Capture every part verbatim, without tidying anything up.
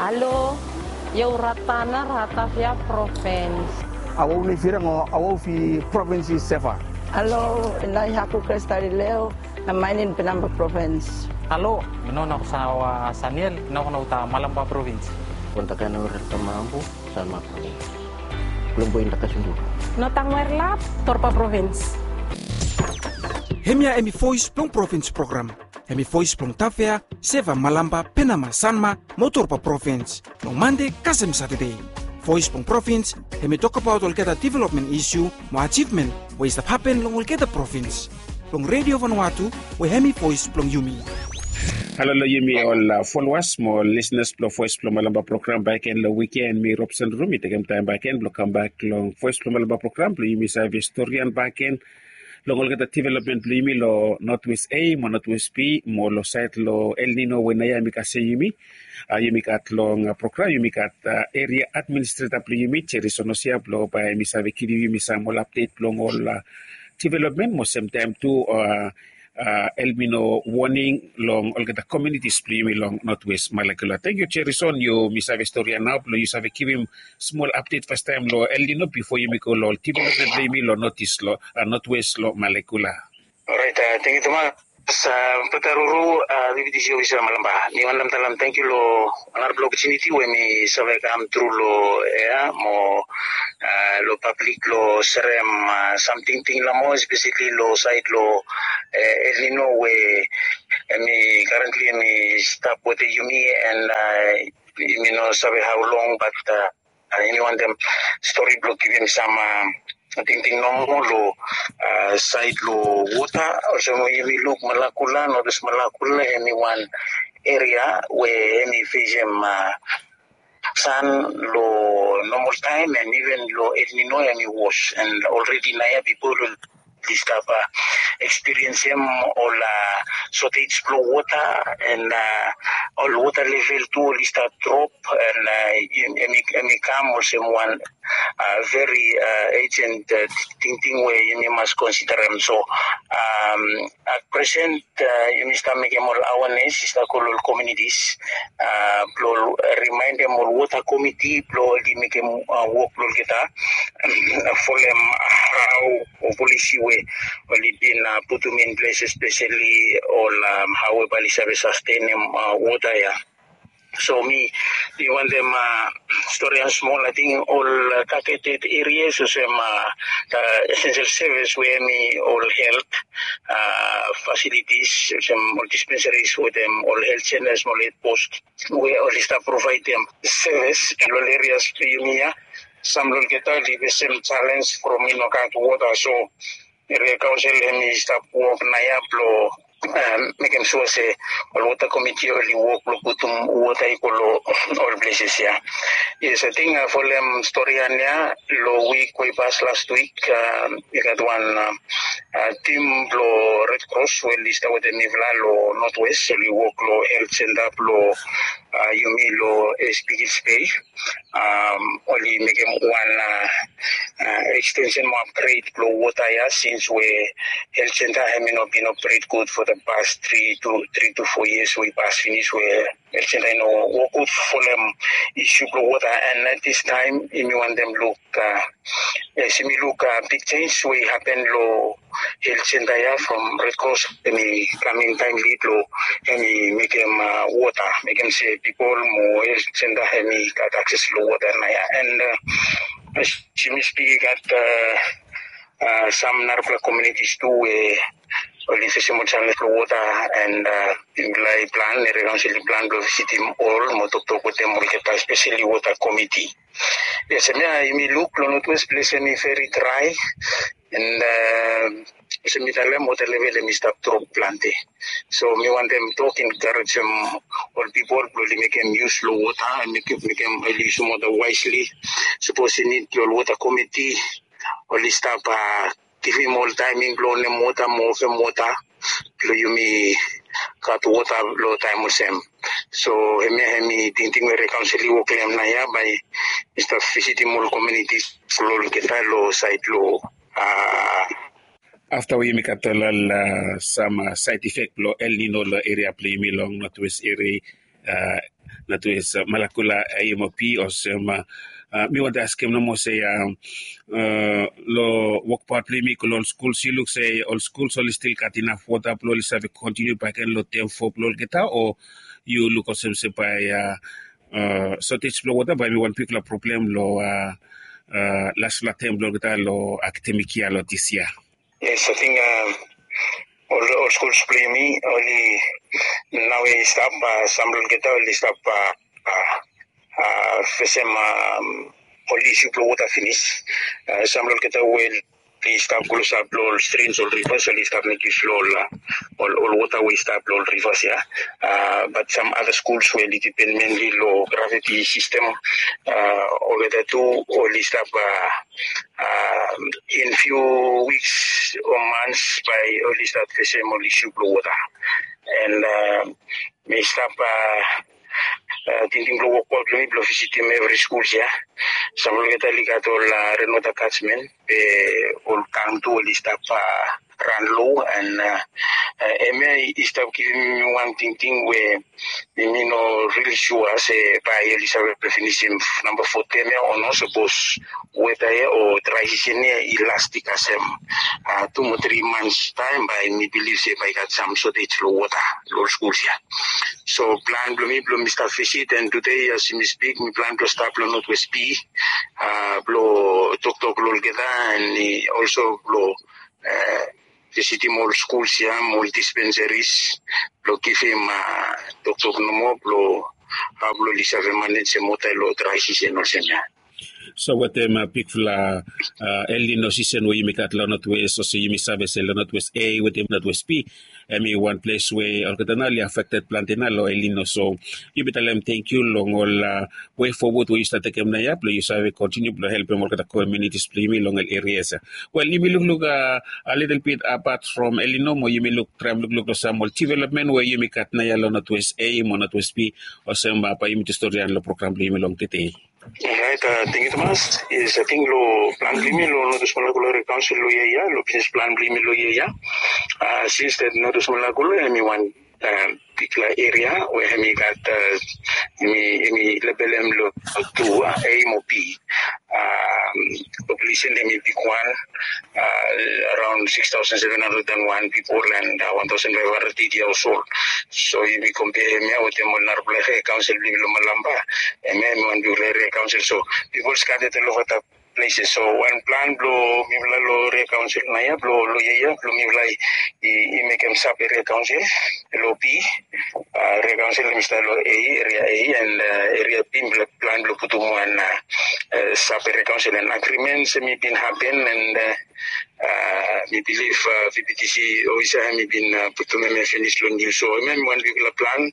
Alo, io Ratana, Ratavia Province. Awau nei firang o awau fi province i Seva. Alo, nai haku Kresta Lileo, na mainin Penamba Province. Alo, mi no na kusawa Saniel, na kuna uta Malamba Province. Kontakan o Ratamabu, Salma Province. Belum boin da kasunduru. No tangwer lap, Torpa Province. Hemia hemi voice blong province program. Hemi voice blong Tavea, Seva, Malamba, Penama, Sanma, mo Torpa Province. Long Mande kasem Satade. Voice blong province, hemi tokbaot olgeta development issue, mo achievement, we i stap hapen long olgeta province. Long Radio Vanuatu, we hemi voice blong yumi. Halo long yumi ol uh, followers mo listeners blong Voice blong Malamba program bakegen long weekend, mi Robson Rumi tekem taem bakegen blong kam bak long Voice blong Malamba program blong yumi save storian bakegen long olgeta development blong yumi long Northwest A mo Northwest B mo long sait long El Nino we naoia hemi kasem yumi. Uh, yumi gat long uh, program yumi gat uh, area administrator blong yumi Jerry Sonosia blong bae hemi save givim yumi sam ol update blong ol uh, development mo semtaem tu uh, uh, El Nino warning long olgeta communities blong yumi long Northwest Malakula. Thank you Jerry Son, yumi save storian nao blong yu save givim smol update fastaem long El Nino bifo yumi go long development blong yumi long Northeast long uh, Northwest long Malakula. Orait, uh, thank you tumas. Uh, Petaruru, uh, V B T C officer Malamba. Mi wantem talem thank you lo narapela opportunity we mi save kam tru lo ea mo uh, lo public lo serem uh, sam tingting nomo, especially lo sait lo uh, El Nino we uh, mi currently mi stap wetem yumi and uh, mi no save how long, but uh, uh, yumi wantem stori blong givim sam uh, tingting nomo lo uh, sait lo wota. Olsem yumi luk Malakula, Northwest Malakula, hemi wan area we hemi fesem uh, san lo normal taem and even lo El Nino hemi wos. And already naoia pipol oli stap uh, experiensem ol uh, shortage blong wota and uh, ol wota level tu oli stap drop and uh, hemi, hemi kam olsem wan uh, very uh, urgent uh, tingting we yumi mas considerem. So um, at present uh, yumi stap mekem ol awareness, i stap go lo ol communities uh, blong remaindem ol wota committee blong oli mekem uh, wok blong olgeta folem hao o polisi we oli bin uh, putum in ples, especially ol um, hao we bae oli save sastenem uh, wota ia. So mi, mi wantem uh, storian smol, ating ol uh, targeted areas olsem uh, essential service we hemi ol health uh, facilities olsem ol dispensaries wetem ol health centers mo ol health post we oli stap provaedem service lo ol areas blong yumi ia. Sam lo olgeta oli fesem challenge from i no gat wota, so area council hemi stap wok naoia blong uh, mekem sua se ol wota committee oli wok blong putum wota i go lo ol places ia. Yes, ating uh, folem storian ia lo wik we i pas last wik uh, i gat wan uh, uh, tim blong Red Cross we oli stap wetem mifala lo Northwest, oli wok lo health center blong uh, yumi lo East Pikils Bay. Um, oli mekem wan uh, uh, extension mo upgrade blong wota ia since we health center hemi no bin operate good for the past three to three to four years we i pas finis, we health center i no wok good folem issue blong wota. And at this time yumi wantem luk uh, yes, yumi luk uh, big change we i hapen lo health center ia from Red Cross, hemi kam in taemli blong hemi mekem uh, wota, mekem se pipol mo health center hemi gat access lo wota naoia. And uh, as yumi spik i gat uh, uh, sam narapela communities tu we oli fesem ol challenge lo wota and uh, yumi laik plan, area council i plan blong visitim ol mo toktok wetem olgeta, especially wota committee. Yes, hemia yumi luk lo Northwest ples hemi very dry and uh, olsem mi talem wota level hemi stap drop plante. So mi wantem tok encouragem ol pipol blong oli mekem use lo wota and mekem, mekem oli yusum wota wisely. Sapos i nid blong ol wota committee oli stap uh, givim ol taeming blong onem wota mo ofem wota blong yumi gat wota lo taem olsem. So hemia hemi tingting we area council i wok lo hem naoia bae mi stap visitim ol communities lo olgeta lo sait lo uh, afta we yumi gat ol uh, sam uh, side effect blong El Nino lo area blong yumi long Northwest area uh, Notwest Malakula A M O P olsem. Mi wantem askem nomo se long wokbaot blong yumi go long ol skuls, yu luk se ol skuls oli stil gat inaf wota blong oli save kontiniu bakegen long tem fo blong olgeta, o yu luk olsem se bae sotej blong wota bae hemi wan bigfala problem long lasfala tem blong olgeta long akademik yia long dis yia? Yes, ating ol ol skuls blong yumi oli nao i stap, sam blong olgeta oli stap fesem ol isu blong wota finis. Sam blong olgeta we oli stap klosap long ol strins, ol rivas, oli stap mekyus long ol ol wota we i stap long ol rivas ya. Bat sam ada skuls we oli dipen menli long graviti sistem, olgeta tu oli stap in few weeks o months bae oli stap fesem ol isu blong wota. And mi stap tingting blong wokbaot blong mi blong visitim evri skuls ya. Sam blong olgeta oli gat ol renwota katsmen, be ol gang tu oli stap ran lo, and hemia i stap givim mi wan tingting we mi no rili sua se bae oli save finisim namba fo tem ya o no, sapos weta ya o drae sisen ya i lastik kasem tu mo tri mans taem, bae mi bilif se bae i gat sam sotej long wota long ol skuls ya. So plan blong mi blong mi stap visit, and tude as mi spik mi plan blong stap long Notwest B blong toktok long olgeta, and olso blong visitim ol skuls ya mo ol dispensaries blong givim toktok nomo blong hao blong oli save manejem wota long drae sisen olsem ya. So wetem bigfala El Nino sisen we yumi gat long Notwest, olsem yumi save se long Notwest A wetem Notwest B, hemi wan ples we olgeta nao oli afekted plante nao long El Nino. So yumi talem tangkiu long ol wei fowod we yu stap tekem naoia blong yu save kontiniu blong helpem olgeta komunitis blong yumi long ol erias ya. Wel, yumi lukluk a litil bit apat from El Nino mo yumi luk, traem lukluk long sam ol developmen we yumi gat naoia long Notwest A mo Notwest B, olsem bae yumi jes storian long program blong yumi long tede. Orait, tangkiu tumas. Yes, ating long plan blong yumi long Notwest Malakula Eria Kaonsel long yia ya, long bisnis plan blong yumi long yia ya, sins dat Notwest Malakula hemi wan bigfala eria we hemi gat, hemi, hemi lebelem long tu, A mo B. Populesen hemi bigwan, araon six thousand seven hundred and one pipol and one thousand five hundred eighty household. So yumi kompea hemia wetem ol narafala eria kaonsel blong yumi long Malampa, hemia hemi wan bigfala eria kaonsel. So pipol scattered all over the places. So wan plan blong mifala long eria kaonsel naoia blong long yia ya blong mifala i mekem sab eria kaonsel long B. Eria kaonsel hemi stap long A, eria A, and eria B mifala plan blong putum wan sab eria kaonsel, and agrimens hemi bin hapen, and mi bilif VPTC ofisa hemi bin putum hemia finis long nius. So hemia hemi wan bigfala plan,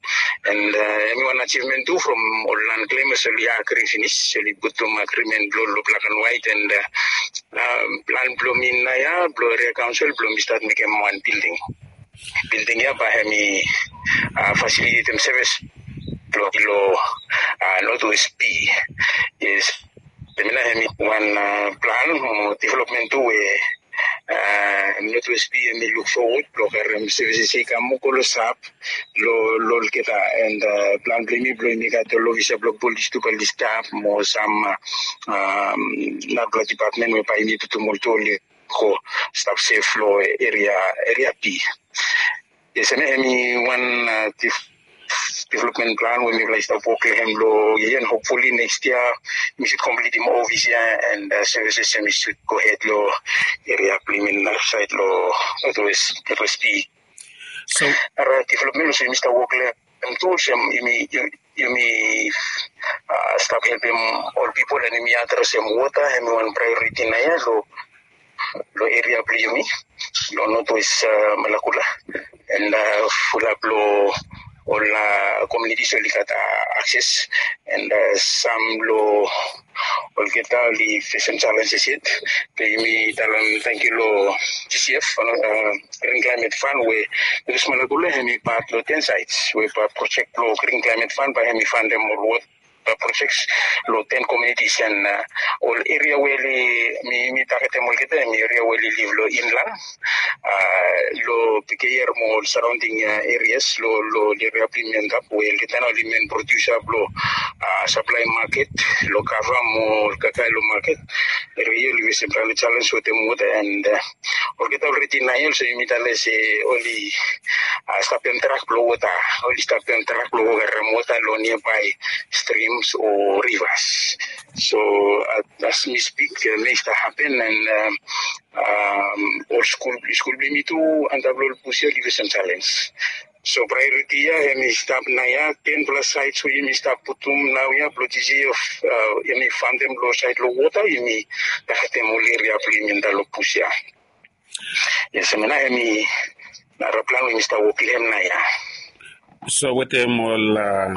and hemi wan ajivmen tu from ol land claimers oli agri finis, oli putum agrimen blong long black and white, and plan blong mi naoia blong eria kaonsel blong mi stat mekem wan bilding. Bilding ya bae hemi fasilitetem sevis blong long Notwest B. Yes. Hemia nao hemi wan plan mo developmen tu we Notwest B hemi luk fowod blong karem sevises ya i kam mo klosap long olgeta, and plan blong yumi blong yumi gat ol ofisa blong polis tu bae oli stap mo sam narafala dipatmen we bae yumi putum ol tu oli go stap sef long eria, eria B. Yes, hemia hemi wan developmen plan we mifala i stap wok long hem long yia ya, and hopefully next year mi should komplitim ofis ya, and sevises hemi should go hed long eria blong yumi narasaed long Notwest, Notwest B. So ara developmen olsem yumi stap wok long hem tu, olsem yumi, yumi stap helpem ol pipol, and yumi adresem wota, hemi wan praeoriti naoia long long eria blong yumi long Notwest Malakula, and fulap long ol komunitis oli gat akses, and sam long olgeta oli fesem jalenjes yet. Be yumi talem tangkiu long GCF, Green Climate Fund, we Notwest Malakula hemi pat long ten sites we bae projek blong Green Climate Fund bae hemi fandem ol wota projects lo ten communities and uh, ol area we oli mi mi targetem olgeta em area we oli live lo inland uh, lo Pequeyer mo ol surrounding uh, areas lo lo area bli mi antap we olgeta na oli main producer blo uh, supply market lo kava mo ol kakae lo market area oli facem planti challenge wetem water and uh, olgeta already naoia olsem yumi tale se oli uh, stapem truck blo water oli stapem truck blo go karem water lo nearby streams o rivers. So uh, as mi speak, uh, mei stap happen and um, um, ol skul skul bli mi tu antap lo ol pusi oli facem challenge. So priority ia hemi stap naoia ten plus sites we yumi stap putum naoia blo tisi of uh, yumi fundem lo side lo water yumi targetem ol area blo yumi antap lo pusi ia. Yes, hemi na hemi nara plan we yumi stap wok lo hem naoia. So wetem ol uh,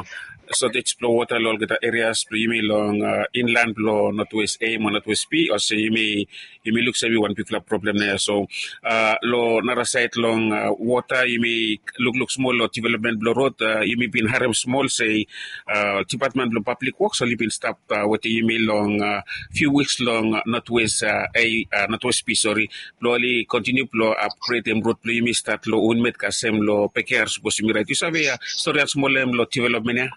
shortage blo water lo olgeta areas blo yumi long uh, inland blo Northwest A mo Northwest B olsem yumi yumi luksave wan bigfala problem naoia. So uh, lo nara side long uh, water yumi lukluk smol lo development blo road uh, yumi bin harem smol se uh, department blo public works oli bin stap uh, wetem yumi long uh, few weeks long uh, Northwest uh, A uh, Northwest B, sorry, blo oli continue blo upgrade em road blo yumi start lo Unmet kasem lo Peker, sapos yumi right. Yu save uh, story wan smol em lo development ia.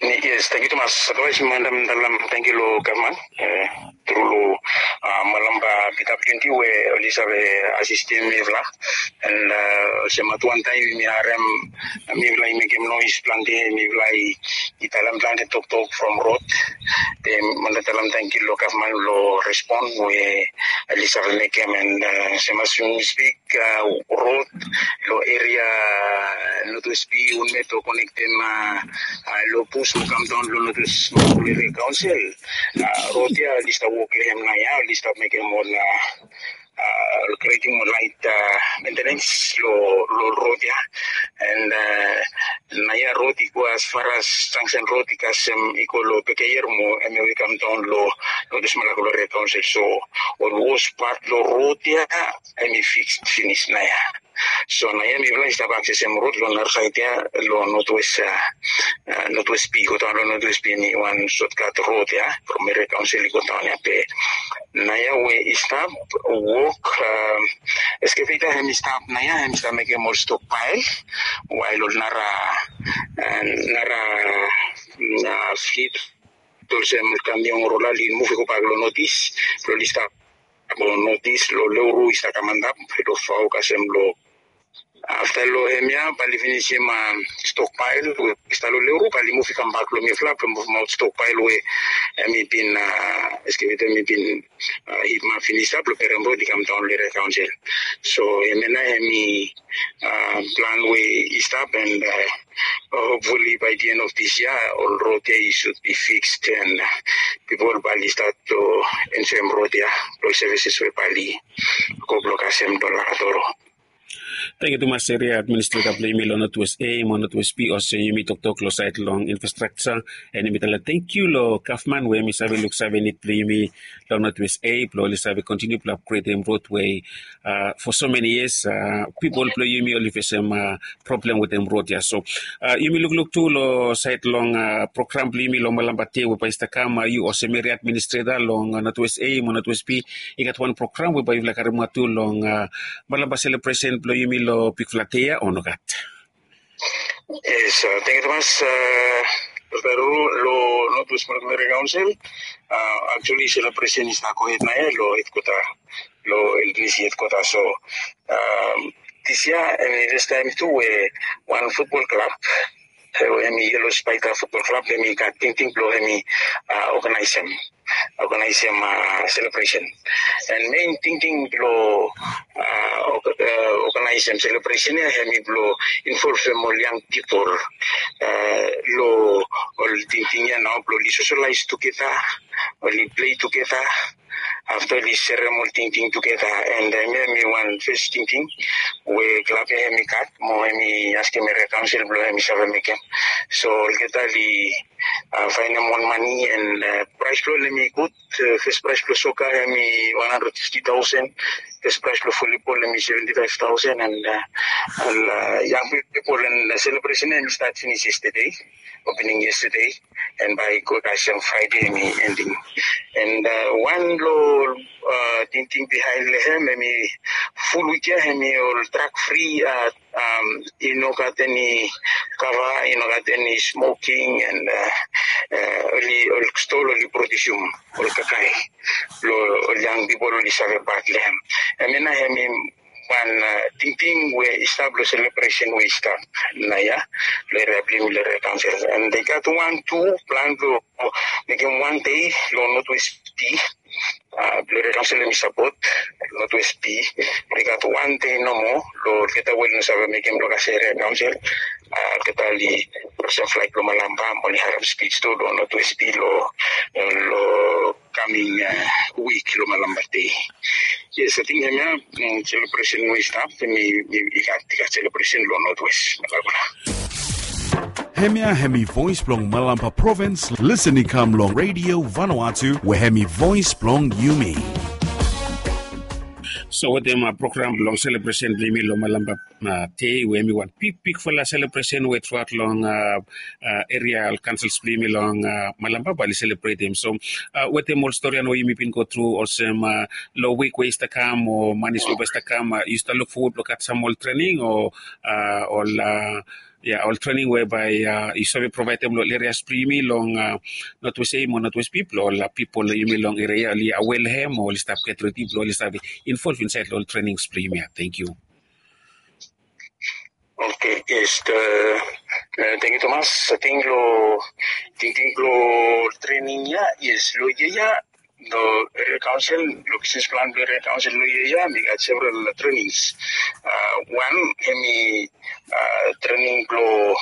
Yes, thank you tumas. Otherwise, madam dalam thank you lo government. Eh, tru lo uh, malam ba P W D we oli save assistem mifala. And uh, olsem at one time mi harem mifala i mekem noise planti, mifala i talam planti toktok from road. Te manda talam thank you lo government lo respond we oli save mekem and uh, same as we speak uh, road lo area Northwest B Unmet o connectem uh, uh, lo bus o come down lo Northwest Marakulere Council. Uh, road ia oli stap wok lo hem naoia, oli stap mekem ol uh, uh, creating ol light uh, maintenance lo lo road ia. And uh, naoia road i go as far as junction road i kasem i go lo Pekeyer mo hemi we come down lo Northwest Marakulere Council. So ol worst part lo road ia hemi fixed finish naoia. So naoia mifala i stap accessem road lo nara side ia lo Northwest uh, uh, Northwest B, go down lo Northwest B hemi wan shortcut road ia from Marakulere Council i go down ia be naoia we i stap wok uh, excavator hemi stap naoia hemi stap mekem ol stockpile while ol nara uh, nara uh, fleet olsem kamion rola oli muv i go bak lo Northeast blo oli stap lo Northeast lo Leuru i stap kam antap lo Fau kasem lo afta lo hemia bae oli finisim uh, stockpile we i stap lo Leuru bae oli muv i kam bak lo mifala blo muv maot stockpile we hemi bin uh, excavator hemi bin uh, hit ma finis ap lo Perem Road i kam daon lo Area Council. So hemia nao hemi uh, plan we i stap and uh, hopefully by the end of this year ol road ia i should be fixed and uh, pipol bae oli stat lo enjoem road ia lo services we bae oli go blo kasem lo Lakatoro. Tangkiu tumas Area Administrator blo yumi lo Northwest A mo Northwest B olsem yumi toktok lo saed long infrastructure. And yumi talem tangkiu lo gavman we hemi save luksave nid blo yumi lo Northwest A blo oli save kontiniu blo upgredem road we uh, for so many years uh, pipol blo yumi oli fesem uh, problem wetem road ia. So uh, yumi lukluk tu lo saed long uh, program blo yumi lo malam ba dei we bae i stap kam, uh, yu olsem Area Administrator long uh, Northwest A mo Northwest B, i gat wan program we bae yufala karemaot tu long uh, malam ba selebresen blo yumi lo bigfala dei ia o nogat? Yes, uh, tangkiu tumas. Uh, lo Northwest Marakulere Council, uh, actually selebresen i stap gohed nao ia lo hedkwota, lo LDC hedkwota. So um, this year hemi first time tu we wan futbol klab, eh, hemi Yellow Spider Futbol Klab, hemi gat tingting blo hemi uh, organizem organizem uh, celebration. And main tingting blo uh, organizem celebration ia hemi blo involvem ol young pipol uh, lo ol tingting ia nao blo oli socialize tugeta, oli play tugeta, afta oli serem ol tingting tugeta. And hemia hemi wan fes tingting we klab ya hemi gat mo hemi askem eria kaonsel blong hemi save mekem. So olgeta oli faenem wan mane and praes blong ol hemi gud. Fes praes blong soka hemi wan handred fifti taosen. Fes praes blong volibol hemi seventi faef taosen and ol yang pipol and selebresen ya hemi stat finis yestede, opening yestede. And bae i go kasem fraede hemi ending. And wan long tingting bihaen long hem hemi ful wik ya hemi ol drak fri. I no gat eni kava, i no gat eni smoking and oli ol stol oli produsium ol kakae blong ol yang pipol oli save bat long hem. Hemia nao hemi wan tingting we i stap long selebresen we i stap naoia long eria blong yumi long eria kaonsel. And i gat wan tu plan blong mekem wan dei long notwest pi blong eria kaonsel hemi sapot notwest pi. I gat wan dei nomo long olgeta we oli no save mekem long kasem eria kaonsel. Olgeta oli present flaet blong malamba mo oli harem spij tu long notwest pi long long kaming wik long malamba dei. Yes, ating hemia selebresen we i stap hemi i gat i gat selebresen long notwest. Malamba. Hemia hemi voes blong malamba provins. Lisen i kam long redio vanuatu we hemi voes blong yumi. So wetem program blong selebresen blong yumi long malamba dei we hemi wan bigbigfala selebresen we truaot long eria ol kansels blong yumi long malamba bae oli selebretem. So wetem ol storian we yumi bin go tru olsem long wik we i stap kam o manis we bae i stap kam, yu stap luk fowod blong gat sam ol trening o ol ya ol trening we bae yu save provaedem long ol erias blong yumi long notwest ei mo notwest pi blong ol pipol long yumi long eria ya oli awea long hem o oli stap getredi blong oli save involv insaed long ol trenings blong yumi ya. Tangkiu. Oke, yes. Tangkiu tumas. Ating long tingting blong trening ya, yes, long yia ya long eria kaonsel, long bisnis plan blong eria kaonsel long yia ya hemi gat several trenings. Wan hemi trening blong